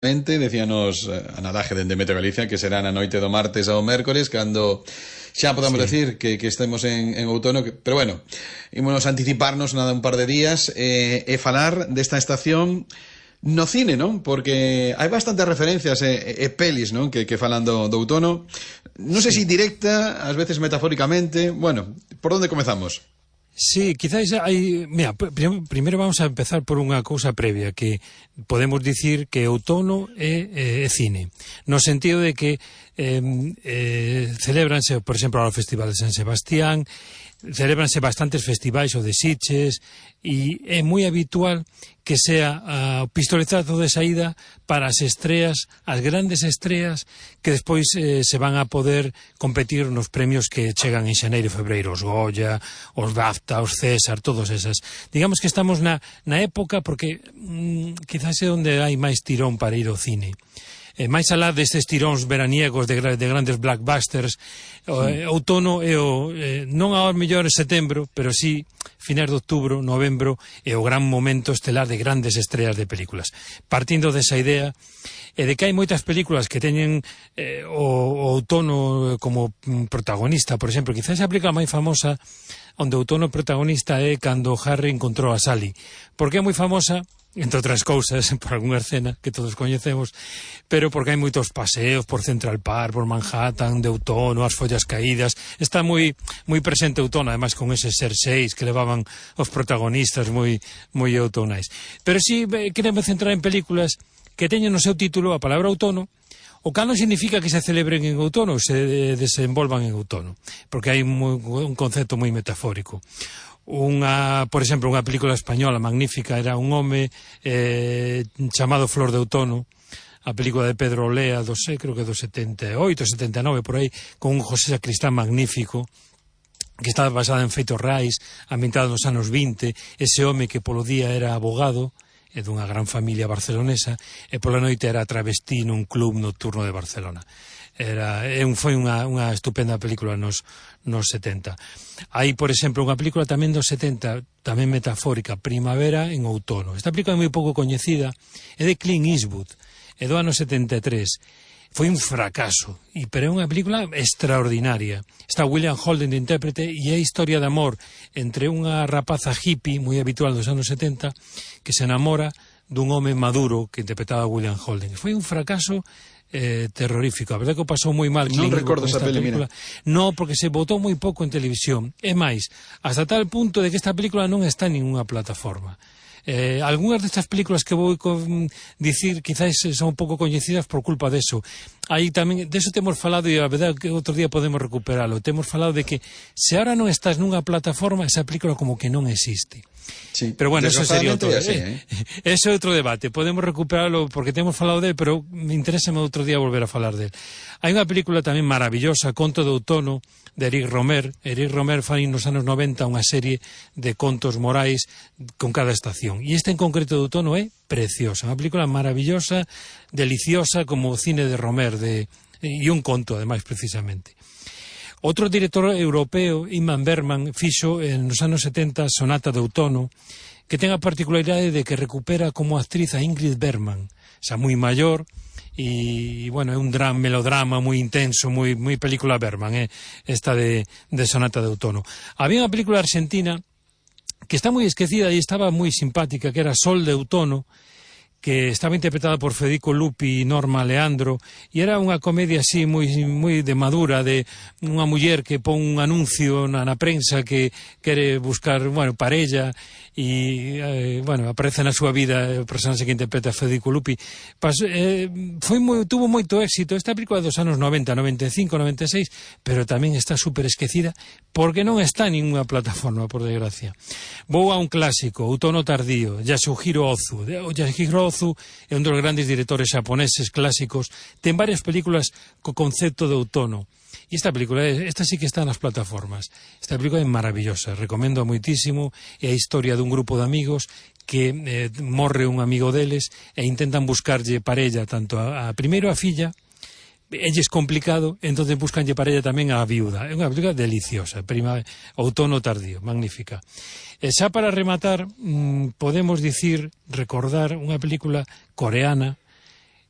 Decíanos Ana Laje dende Meteo Galicia que será na noite do martes ao mércores cando xa podamos decir que estemos en outono, pero bueno, ímonos anticiparnos nada un par de días e falar desta estación no cine, non? Porque hai bastantes referencias e pelis, non? Que falan do outono, non sei se directa, ás veces metafóricamente. Bueno, por onde comezamos? Sí, quizás hai... Mira, primeiro vamos a empezar por unha cousa previa, que podemos dicir que outono é cine, no sentido de que celébranse, por exemplo, o Festival de San Sebastián, celébranse bastantes festivais o de Sitges, e é moi habitual que sea o pistoletazo de saída para as estreas, as grandes estreas que despois se van a poder competir nos premios que chegan en xaneiro e febreiro, os Goya, os BAFTA, os César, todos esas. Digamos que estamos na época porque quizás é onde hai máis tirón para ir ao cine. Máis alá destes tiróns veraniegos de grandes blockbusters, outono é non ao mellor en setembro, pero sí finais de outubro, novembro, é o gran momento estelar de grandes estreas de películas. Partindo desa idea de que hai moitas películas que teñen o outono como protagonista, por exemplo, quizás a película máis famosa onde o outono protagonista é Cando Harry encontrou a Sally, porque é moi famosa, entre outras cousas, por algunha escena que todos coñecemos, pero porque hai moitos paseos por Central Park, por Manhattan, de outono, as follas caídas, está moi presente outono, además con eses xerseis que levaban os protagonistas moi outonais. Pero si queremos centrar en películas que teñen no seu título a palabra outono, o cal non significa que se celebren en outono, se desenvolvan en outono, porque hai un concepto moi metafórico. Por exemplo, unha película española magnífica era Un home chamado Flor de Outono, a película de Pedro Olea, creo que do 78, 79, por aí, con un José Sacristán magnífico, que estaba basada en feitos reais, ambientado nos anos 20, ese home que polo día era abogado, e dunha gran familia barcelonesa, e pola noite era travesti nun club nocturno de Barcelona. Foi unha estupenda película nos 70. Hai, por exemplo, unha película tamén dos 70, tamén metafórica, Primavera en outono. Esta película é moi pouco coñecida, é de Clint Eastwood, é do ano 73. Foi un fracaso, pero é unha película extraordinaria. Está William Holden de intérprete e é a historia de amor entre unha rapaza hippie moi habitual dos anos 70 que se enamora dun home maduro que interpretaba William Holden. Foi un fracaso terrorífico. A verdade que o pasou moi mal. Non recordo esa película. No, porque se botou moi pouco en televisión. É máis, hasta tal punto de que esta película non está en ninguna plataforma. Algunhas destas películas que vou dicir quizás son un pouco coñecidas por culpa deso. Aí tamén, deso temos falado e a verdade que outro día podemos recuperalo. Temos falado de que se ahora non estás nunha plataforma, esa película como que non existe. Sí, pero bueno, eso sería outro así, ese é outro debate, podemos recuperarlo porque temos falado del, pero me interesa outro día volver a falar del. Hai unha película tamén maravillosa, Conto de Outono, de Eric Romer. Eric Romer fai nos anos 90 unha serie de contos morais con cada estación, e este en concreto de outono é preciosa, unha película maravillosa, deliciosa, como o cine de Romer, e un conto ademais precisamente. Outro director europeo, Ingmar Bergman, fixo nos anos 70 Sonata de Outono, que ten a particularidade de que recupera como actriz a Ingrid Bergman, xa moi maior, e, bueno, é un melodrama moi intenso, moi película Bergman, esta de Sonata de Outono. Había unha película argentina que está moi esquecida e estaba moi simpática, que era Sol de Outono, que estaba interpretada por Federico Lupi e Norma Leandro, e era unha comedia así moi de madura, de unha muller que pon un anuncio na prensa que quere buscar, parella, e, aparece na súa vida o personaxe que interpreta Federico Lupi. Tuvo moito éxito. Esta película dos anos 90, 95, 96, pero tamén está super esquecida porque non está en ninguna plataforma, por desgracia. Vou a un clásico, Outono tardío, Yasuhiro Ozu. Yasuhiro Ozu é un dos grandes directores xaponeses clásicos, ten varias películas co concepto de outono. E esta película, esta sí que está nas plataformas. Esta película é maravillosa, recomendo moitísimo. É a historia dun grupo de amigos que morre un amigo deles e intentan buscarlle parella tanto primeiro a filla, elles complicado, entonces buscanlle parella tamén a viuda. É unha película deliciosa, Outono tardío, magnífica. E xa para rematar, podemos recordar unha película coreana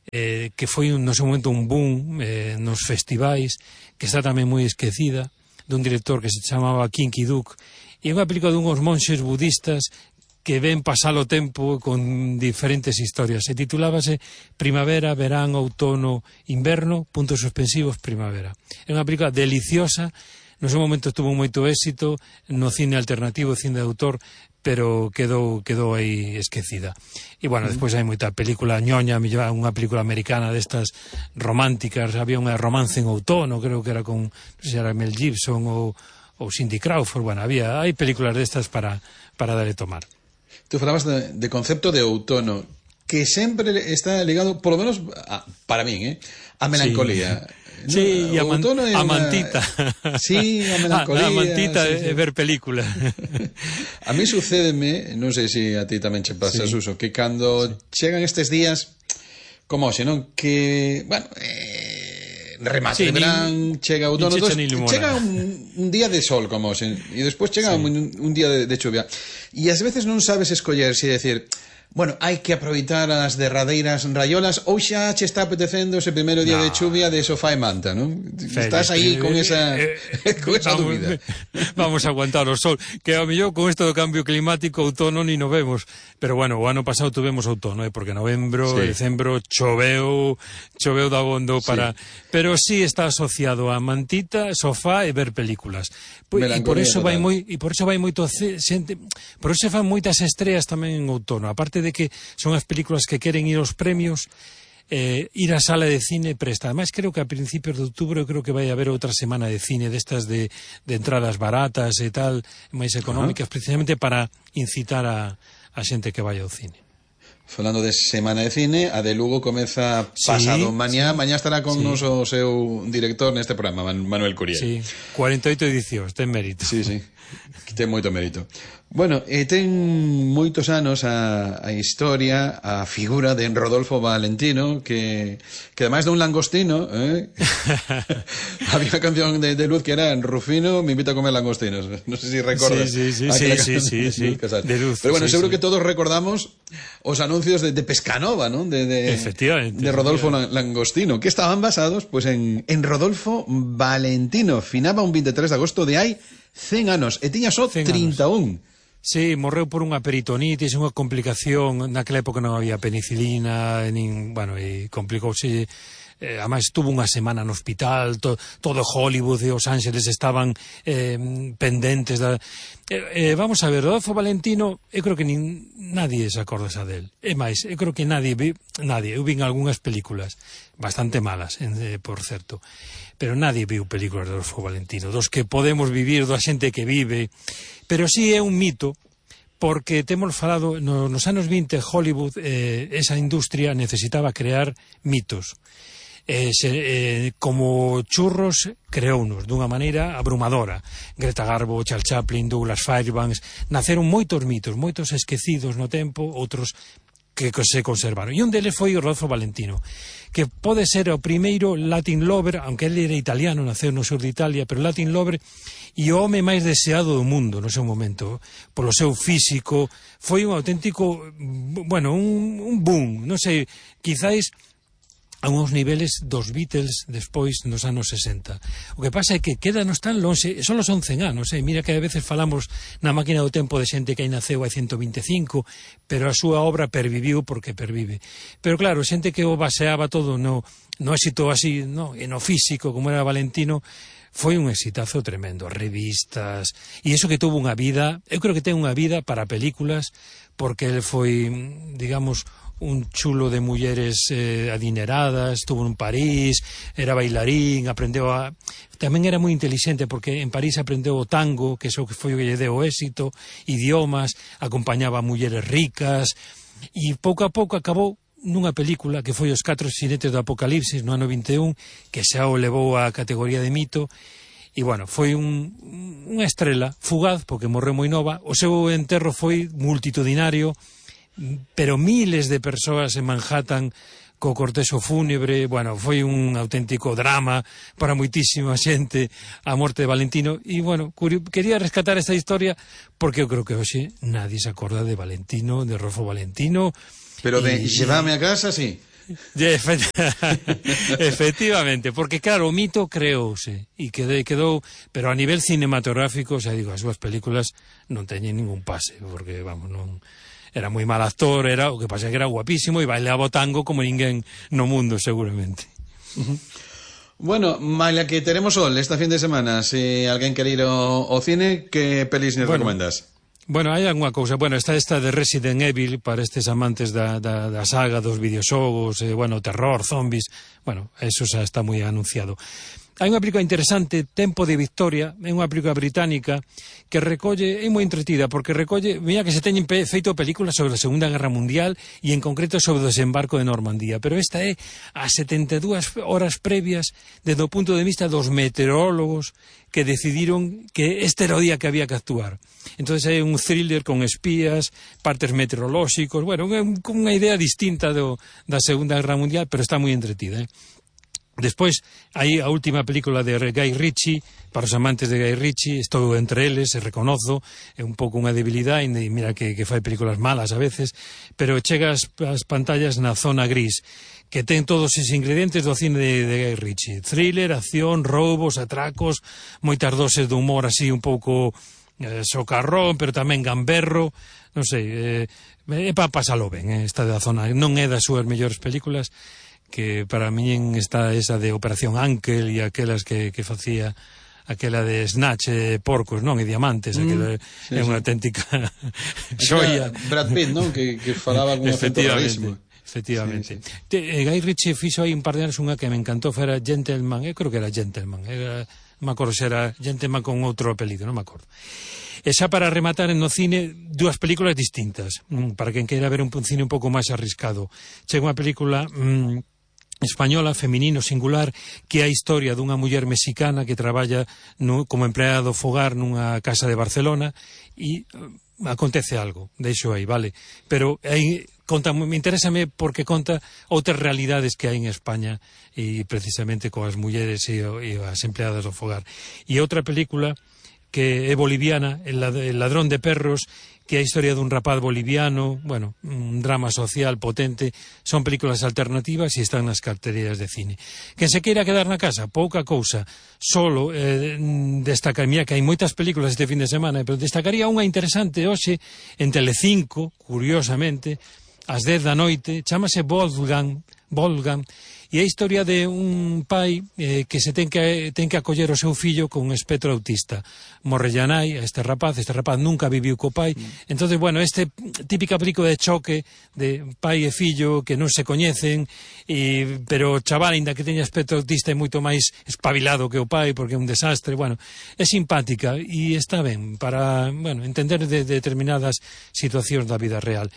que foi no seu momento un boom nos festivais, que está tamén moi esquecida, dun director que se chamaba Kim Ki-duk, e é unha película dunhos monxes budistas que ven pasar o tempo con diferentes historias. Se titulábase Primavera, Verán, Outono, Inverno, puntos suspensivos, Primavera. É unha película deliciosa, no seu momento tuvo moito éxito no cine alternativo, cine de autor, pero quedou aí esquecida. E, bueno, despois hai moita película ñoña, unha película americana destas románticas, había unha Romance en Outono, creo que era con, non sei se era Mel Gibson ou Cindy Crawford, bueno, hai películas destas para dar e tomar. Tú falabas de concepto de outono, que sempre está ligado, por lo menos para min, a melancolía. Sí, no, a mantita. Sí, a melancolía. A mantita sí. É ver película. A mí sucédeme, non sei se a ti tamén che pasa, Suso, que cando chegan estes días, como xe, non? Que, bueno, remate de verán, chega outono, chega un día de sol, como xe, e despois chega un día de chuvia. E ás veces non sabes escoller se decir, bueno, hai que aproveitar as derradeiras raiolas ou xa che está apetecendo ese primeiro día de chuvia de sofá e manta, non? Estás aí con esa dúbida. Vamos a aguantar o sol, que ao mellor con isto do cambio climático outono ni no vemos, pero bueno, o ano pasado tuvemos outono, porque novembro, decembro choveu dabondo para... Pero sí está asociado a mantita, sofá e ver películas. E por eso vai moito xente, por eso se fan moitas estreas tamén en outono, aparte de que son as películas que queren ir aos premios, ir á sala de cine presta. Ademais, creo que a principios de outubro creo que vai haber outra semana de cine destas de entradas baratas e tal, máis económicas, precisamente para incitar a xente que vai ao cine. Falando de semana de cine, a de Lugo comeza pasado mañá. Mañá estará con nos o seu director neste programa, Manuel Curiel. Sí, 48 edicións, ten mérito. Sí, ten moito mérito. Bueno, ten moitos anos a historia, a figura de Rodolfo Valentino, que ademais de un langostino, había unha canción de Luz que era Rufino me invita a comer langostinos. Non sei se recordas. Sí. De Luz. Pero bueno, seguro que todos recordamos os anuncios de Pescanova, ¿no? Efectivamente. De Rodolfo Langostino, que estaban basados pues en Rodolfo Valentino. Finaba un 23 de agosto de hai 100 anos e tiña só 31. Sí, morreu por unha peritonitis, unha complicación, naquela época non había penicilina, e complicouse, ademais tuvo unha semana no hospital, todo Hollywood e Os Ángeles estaban pendentes vamos a ver, Rodolfo Valentino, eu creo que nadie se acorda xa del, é máis, eu creo que nadie, eu vin algunhas películas bastante malas, por certo, pero nadie viu películas de Rodolfo Valentino, dos que podemos vivir, da xente que vive, pero sí é un mito, porque temos falado, nos anos 20 Hollywood, esa industria necesitaba crear mitos, como churros creounos dunha maneira abrumadora. Greta Garbo, Charles Chaplin, Douglas Fairbanks, naceron moitos mitos, moitos esquecidos no tempo, outros que se conservaron. E un deles foi o Rodolfo Valentino, que pode ser o primeiro Latin lover, aunque ele era italiano, naceu no sur de Italia, pero Latin lover e o home máis deseado do mundo no seu momento, polo seu físico, foi un auténtico, un boom, non sei, quizáis a uns niveles dos Beatles despois nos anos 60. O que pasa é que quédanos tan longe, só son 100 anos, mira que a veces falamos na máquina do tempo de xente que aí naceu hai 125, pero a súa obra perviviu porque pervive. Pero claro, xente que o baseaba todo no éxito así, e no físico, como era Valentino, foi un exitazo tremendo, revistas, e iso que tuvo unha vida, eu creo que ten unha vida para películas, porque ele foi, digamos, un chulo de mulleres adineradas, estuvo en París, era bailarín, tamén era moi intelixente, porque en París aprendeu o tango, que iso que foi o que lle deu éxito, idiomas, acompañaba a mulleres ricas, e pouco a pouco acabou nunha película que foi Os 4 xinetes do Apocalipsis no ano 21, que xa o levou á categoría de mito, e foi unha estrela fugaz, porque morreu moi nova. O seu enterro foi multitudinario, pero miles de persoas en Manhattan co cortexo fúnebre, foi un auténtico drama para moitísima xente a morte de Valentino, e quería rescatar esta historia porque eu creo que hoxe nadie se acorda de Valentino, de Rodolfo Valentino. Pero de Llévame a casa, sí. Efectivamente, porque claro, o mito creouse e quedou, pero a nivel cinematográfico, xa digo, as súas películas non teñen ningún pase, porque vamos, non era moi mal actor, o que pasa é que era guapísimo e bailaba o tango como ninguén no mundo, seguramente. Bueno, malia que teremos sol esta fin de semana, se alguén quere ir ao cine, que pelis nos recomendas? Bueno, hai algunha cousa. Bueno, está esta de Resident Evil para estes amantes da saga dos videoxogos, terror, zombies. Bueno, eso xa está moi anunciado. Hai unha película interesante, Tempo de Victoria, é unha película británica que recolle, é moi entretida, porque recolle, mira que se teñen feito películas sobre a Segunda Guerra Mundial e en concreto sobre o desembarco de Normandía, pero esta é a 72 horas previas desde o punto de vista dos meteorólogos que decidiron que este era o día que había que actuar. Entonces é un thriller con espías, partes meteorolóxicos, bueno, con unha idea distinta da Segunda Guerra Mundial, pero está moi entretida, Despois, hai a última película de Guy Ritchie, para os amantes de Guy Ritchie, estou entre eles, reconozo, é un pouco unha debilidade, e mira que fai películas malas a veces, pero chega ás pantallas na zona gris, que ten todos os ingredientes do cine de Guy Ritchie. Thriller, acción, roubos, atracos, moitas doses de humor así un pouco socarrón, pero tamén gamberro, non sei, é para pasalo ben, esta da zona, non é das súas mellores películas, que para min está esa de Operación Ankel e aquelas que facía aquela de Snatch, porcos, non? E diamantes, aquela é unha auténtica xoia. Brad Pitt, non? Que falaba con un acento rarísimo. Efectivamente. Guy Ritchie fixo aí un par de anos unha que me encantou, era Gentleman, eu creo que era Gentleman, non me acordo se era Gentleman con outro apelido, non me acordo. E xa para rematar no cine, dúas películas distintas, para quen queira ver un cine un pouco máis arriscado. Chega unha película española, feminino, singular, que é a historia dunha muller mexicana que traballa como empleada do fogar nunha casa de Barcelona e acontece algo, deixo aí, vale? Pero aí me interésame porque conta outras realidades que hai en España e precisamente coas mulleres e as empleadas do fogar. E outra película que é boliviana, El ladrón de perros, que é a historia dun rapaz boliviano, bueno, un drama social potente, son películas alternativas e están nas carteleras de cine. Quen se queira quedar na casa, pouca cousa, solo destacaría que hai moitas películas este fin de semana, pero destacaría unha interesante hoxe en Telecinco, curiosamente, ás 10 da noite, chamase Wolfgang, e é a historia de un pai que se ten que acoller o seu fillo con un espectro autista. Morrelle a nai a este rapaz nunca viviu co pai, entonces, bueno, típica película de choque de pai e fillo que non se coñecen, pero o chaval, ainda que teña espectro autista, é moito máis espabilado que o pai, porque é un desastre, bueno, é simpática e está ben para, bueno, entender de determinadas situacións da vida real.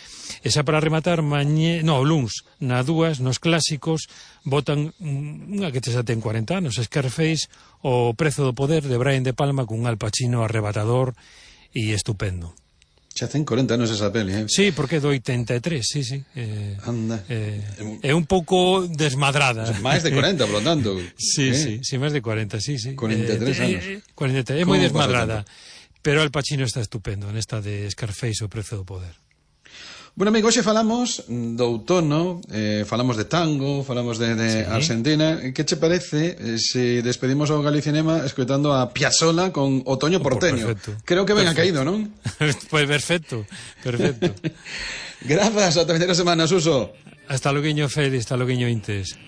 E xa para rematar, luns, na 2, nos clásicos, botan unha que xa ten 40 anos, Scarface, O prezo do poder, de Brian De Palma, cun Al Pacino arrebatador e estupendo. Xa ten 40 anos esa peli, Sí, porque é do 83, sí. Anda. É un pouco desmadrada. Máis de 40, por lo tanto. Sí, máis de 40, sí. 43 anos. 43, é moi desmadrada. Pero Al Pacino está estupendo nesta de Scarface, O prezo do poder. Bueno, amigo, hoxe falamos do outono, falamos de tango, falamos de Argentina. Que che parece se despedimos ao Galicinema escoitando a Piazzolla con Otoño Porteño? Perfecto. Creo que ben ha caído, non? Pues perfecto. Grazas, ata a terceira semana, Suso. Hasta loguiño, Félix, hasta loguiño, Intes.